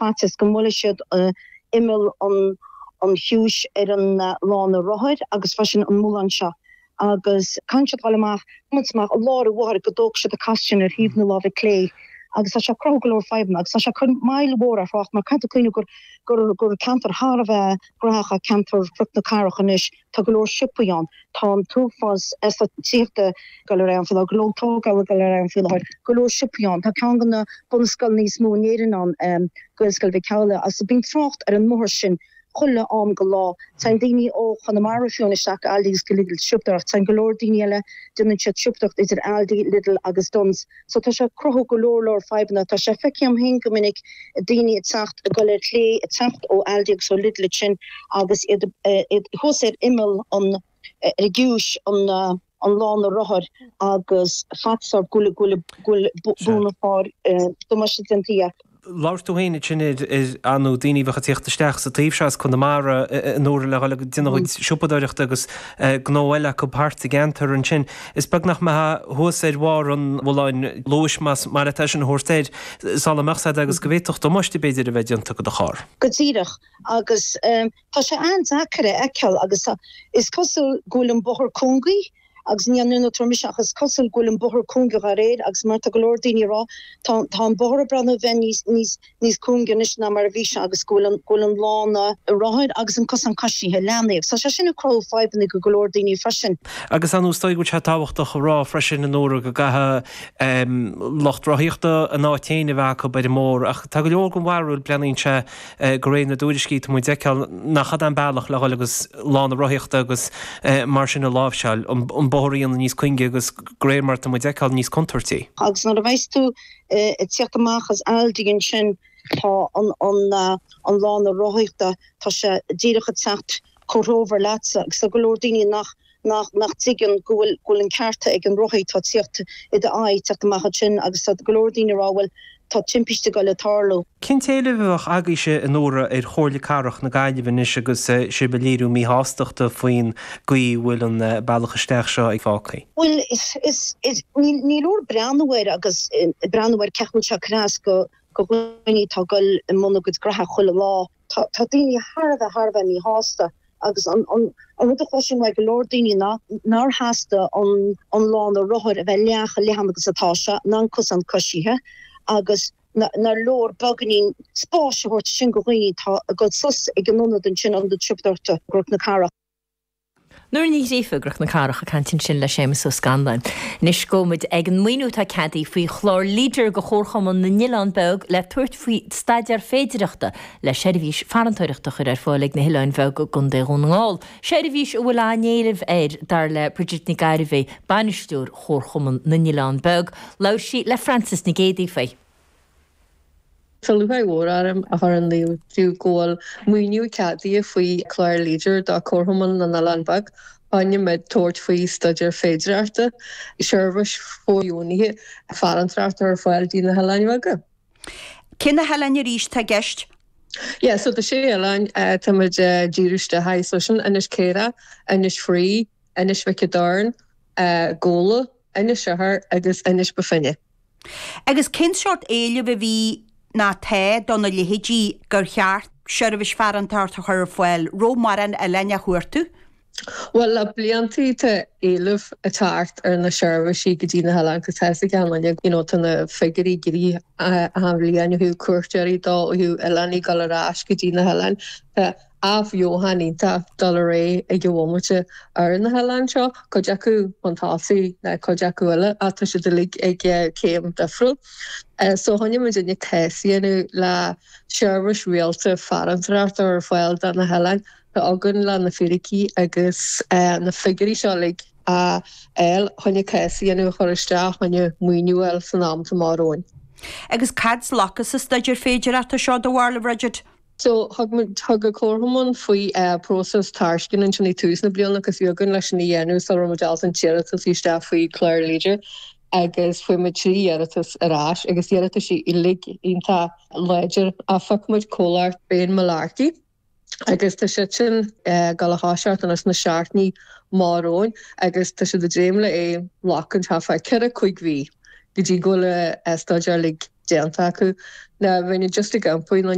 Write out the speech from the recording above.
faitíos go mbuailfidh siad imeall an chiumhais ar an lána rothair agus freisin an mullán seo agus caitheann siad dul amach, tiomáint amach i lár an bhóthair go dtógfaidh siad an casadh sin ar thaobh na láimhe clé agus tá sé ag cruthú go leor fadhbanna agus tá sé ag cur moill mhór ar thrácht mar caithfidh tú cuimhneamh gur gur gur ceantar thar a bheith gnóthach é ceantar Chnoc na Cathrach anois, tá go leor siopaí ann, tá an t-uafás eastát tithíochta ag dul ar aghaidh ann faoi láthair, go leor tógála ag dul ar aghaidh ann faoi láthair, go leor siopaí ann, tá ceann de na bunscoileanna is mó in Éirinn ann, Gaelscoil Mhic Amhlaigh, agus bíonn trácht ar an mbóthar sin chuile am go lá. Téann daoine ó Chonamara fiú isteach go Aldi agus go Lidl siopadóireacht. Téann go leor daoine eile, déanann siad siopadóireacht idir Aldi, Lidl agus Dunnes. So tá sé ag cruthú go leor leor fadhbanna. Tá sé feicthe agam féin go minic daoine ag teacht, ag dul ar chlé, ag teacht ó Aldi agus ó Lidl ansin agus iad thuas ar imeall an, ar an gciumhais, an an lána rothair agus faitíos orthu go bhfuil, go bhfuil, go bhfuil b'fhéidir damáiste déanta. Labhair tú féin ansin ar ar ndóigh daoine a bheadh ag tíocht isteach sa taobh seo as Conamara a Nóra le dhul ag déanamh a gcuid siopadóireachta agus gnó eile acu thart sa gceantar ansin. Is beag nach mbeifeá thuas ar bharr an mhulláin luais más maith leat é sin a thabhairt air sula mbeadh said agus go bhféadfadh damáiste b'fhéidir a bheith déanta do do charr. Go díreach. Agus tá sé an-deacair a fheiceáil agus is cosúil go bhfuil an bóthar cúngaí agus ní an tuairim mise ach is cosúil go bhfuil an bóthar cúngaí dá réir agus mar tá go leor daoine ag rá tá tá an bóthar ag breathnú a bheith níos níos níos cúngaí anois ná mar a bhí sé agus go bhfuil an go bhfuil an lána rothair agus an cosán coisithe leathnaithe agus tá sé sin ag cruthú fadhbanna go go leor daoine freisin. Agus ar ndóigh is dóigh go bhfuil sé tábhachtach a rá freisin a Nóra go gcaithfidh lucht rothaíochta a n-áit féin a bheith acu ar an mbóthar ach tá go leor den bharúil breathnaíonn sé de réir na dtuairiscí atá muid a fheiceáil nach ea an bealach le dhul agus lána rothaíochta agus mar sin a láimhseáil, an bóthar a dhéanamh níos cuinge agus de réir mar atá muid a fheiceáil níos contúirtí. Agus nuair a bheas tú ag tíocht amach as Aldi ansin tá an an lána rothaíochta, tá sé díreach ag teacht comhthreomhar leatsa agus tá go leor daoine nach nach nach dtuigeann go bhfuil go bhfuil an ceart ag an rothaí atá ag tíocht i d'aghaidh teacht amach ansin agus tá go leor daoine ag rá bhuel tá timpiste ag dul ag tarlú. Cén t-éileamh a bheadh agaibhse a Nóra ar Chomhairle Cathrach na Gaillimhe anois agus sibh ag léiriú míshástachta faoin gcaoi a bhfuil an bealach isteach seo fágtha? Bhuel is is is ní ní leor breathnú air agus breathnú ar cén chaoi a bhfuil sé ag cur as go go dhaoine atá ag dul i mbun a gcuid graithe chuile lá. Tá tá daoine thar a bheith thar a bheith míshásta. Agus an rud a chloisim uaidh go leor daoine ná nár theastaigh an lána rothair a bheith leath chomh leathan agus atá sé, ná an cosán coisithe, agus nár leor beagáinín spáis a thabhairt sin go dhaoine atá ag dul suas ag an ionad ansin, ionad siopadóireachta i gCnoc na Cathrach. Nóra Ní Ghríofa i gCnoc na Cathrach ag caint ansin le Séamus Ó Scanláin. Anois gabhfaidh muid ag an maoiniú atá ceadaithe faoi chlár Leader do Chomharchumann na nOileán Beag le tabhairt faoi staidéar féidireachta le seirbhís farantóireachta a chur ar fáil ag na hOileáin Bheaga i gContae Dhún na nGall. Seirbhís a bhfuil an-éileamh air, dar le Bridget Nic Gairbheith, bainisteoir Chomharchumann na nOileán Beag. Labhair sí le Frances Nic Géadaigh faoi. Tá lúcháir mhór orm a chur in iúl daoibh go bhfuil maoiniú ceadaithe faoi Chlár Leader do Chomharchumann na nOileán Beag. Choinne muid tabhairt faoi staidéar féidearthachta, seirbhís fóirdheonaithe farantóireachta ar fáil dtí na hOileáin Bheaga. Cé na hoileáin arís atá i gceist? Yeah, so tá sé oileán tá muid ag díriú isteach air, so sin Inis Caorach, Inis Fraoigh, Inis Mhic an Doirn, Gabhla, Inis Oirthir agus Inis Bó Finne. Agus cén sórt éilimh a bhí ná tá do na leithéidí gur cheart seirbhís farantóireachta a chur ar fáil? Raibh mórán oileáin á chuartú? Bhuel, le bliantaí tá éileamh ag teacht ar na seirbhísí go dtí na hoileáin 'cause tá 'fhios ag achan duine, you know, tá na figiúirí ag éirí achan bhliain ó thaobh cuairteoirí dó, ó thaobh oileánaigh dul ar ais go dtí na hoileáin. Tá athbheochan iontach dul ar aghaidh ag an bhomaite ar na hoileáin seo, cuid acu chun tosaigh ná cuid acu eile ach tá siad uilig ag céim difriúil. So choinnigh muidinne cás a dhéanamh le seirbhís rialta farantóireachta ar fáil do na hoileáin. Tá againn le na fíricí agus na figiúirí seo uilig a fháil choinne cás a dhéanamh a chur isteach choinne maoiniú a fháil san am atá amach romhainn. Agus cad slactha sa staidéar féidearthachta seo, do bharúil, a Bhridget? So thug muid, thug an Comharchumann faoi próiseas tairisceana ansin ag tús na bliana agus bhí againn leis sin a dhéanamh sula raibh muid ábalta an t-iarratas isteach faoi chlár Leader agus fuair muid 3 iarratas ar ais agus iarrataisí uilig iontach láidir ach phioc muid comhlacht Bane Mullarkey. agus tá siad sin ag dul a thoiseacht anois sna seachtainí amach romhainn agus tá siad ag dréim le é ghlacaint thart fá 4, 5 mhí go dtí go bhfuil a staidéar uilig déanta acu. Now bheinn just ag iompú, nó.